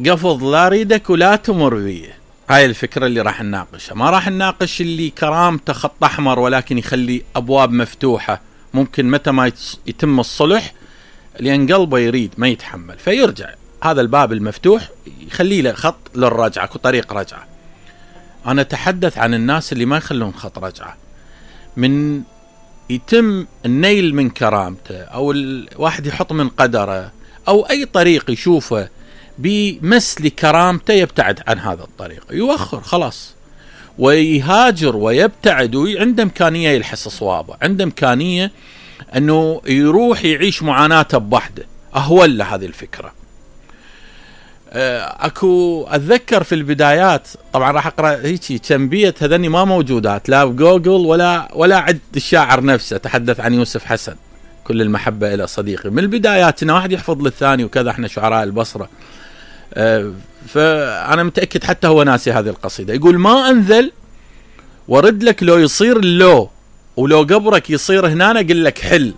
قفض لا اريدك ولا تمر بي. هاي الفكرة اللي راح نناقشها. ما راح نناقش اللي كرامته خط احمر ولكن يخلي ابواب مفتوحة، ممكن متى ما يتم الصلح لان قلبه يريد ما يتحمل فيرجع، هذا الباب المفتوح يخلي له خط للرجعة وطريق رجعة. انا اتحدث عن الناس اللي ما يخلون خط رجعة، من يتم النيل من كرامته او الواحد يحط من قدره او اي طريق يشوفه بمس لكرامته يبتعد عن هذا الطريق، يوخر خلاص ويهاجر ويبتعد، وعنده امكانية يلحس صوابه، عنده امكانية انه يروح يعيش معاناته بوحده، اهون له هذه الفكرة. اكو اتذكر في البدايات، طبعا راح اقرا هيك كم بيت هذني ما موجودات لا بجوجل ولا عند الشاعر نفسه، تحدث عن يوسف حسن كل المحبة الى صديقي. من البدايات إنه واحد يحفظ للثاني وكذا، احنا شعراء البصرة. فانا متأكد حتى هو ناسي هذه القصيدة. يقول ما انذل ورد لك لو يصير اللو، ولو قبرك يصير هنا قل لك حل،